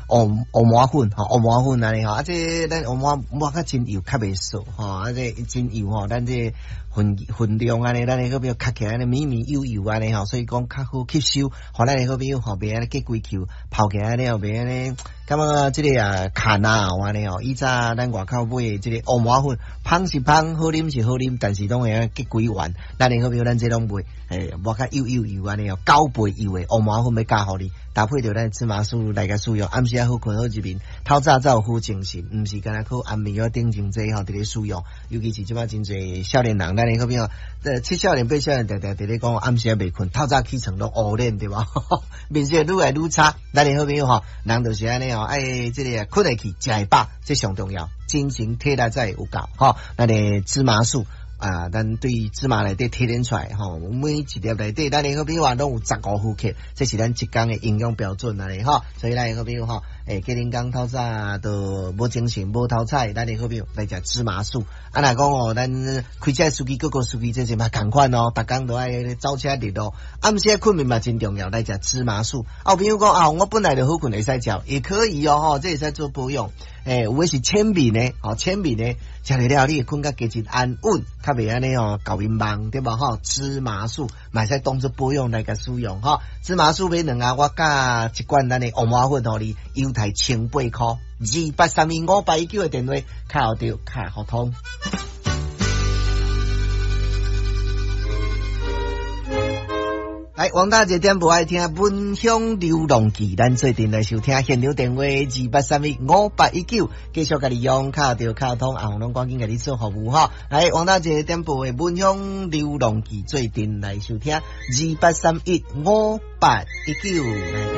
烏烏麻粉吼，烏麻粉按呢吼，啊這咱烏麻抹較真幼，較袂澀吼，啊這真幼吼，咱這分分量按呢，咱的好朋友較起來按呢綿綿幼幼按呢吼，所以講較好吸收，予咱的好朋友吼，袂按呢結規球，泡起來按呢吼，袂按呢，感覺這个啊卡那按呢吼，以早咱外口買的這个烏麻粉，芳是芳，好啉是好啉，但是攏會按結規丸，咱的好朋友咱這攏袂，欸，抹較幼幼幼按呢吼，九倍幼的烏麻粉欲加予你，搭配著咱芝麻素來共使用，暗時仔好睏好入眠，透早才有好精神，毋是干焦靠安眠藥頂真濟吼，佇咧使用，尤其是這擺真濟少年人，咱的好朋友，七少年八少年，定定佇咧講暗時仔袂睏，透早起床攏烏臉對無？面色愈來愈差，咱的好朋友吼，人就是按呢吼，愛這个睏會去，食會飽，這上重要，精神體力才會有夠吼。咱的芝麻素啊，咱對芝麻內底提煉出來吼，每一粒內底，咱的好朋友啊，攏有15毫克，這是咱一工的營養標準按呢吼。所以咱的好朋友吼，欸，隔恁工透早都無精神、無頭彩，咱的好朋友來食芝麻素。啊，若講哦，咱開車司機、各個司機這是嘛仝款哦，逐工都愛走車日咯。暗時睏眠嘛真重要，來食芝麻素。啊，有朋友講啊，我本來就好睏，會使食，也可以哦，吼，這會使做保養。欸，有的是淺眠的，吼，淺眠的，食落了你會睏較加真安穩，較袂按呢吼，搞眠夢對無吼？芝麻素嘛會使當做保養來共使用吼。芝麻素買兩盒，我加一罐咱的烏麻粉予你，猶太千八箍，28315819的電話，敲著卡互通。來，王大姐點播愛聽《聞香流浪記》，咱做陣來收聽現場電話28315819，繼續共你用敲著敲通，阿紅攏趕緊共你做服務吼。來，王大姐點播的《聞香流浪記》，做陣來收聽28315819。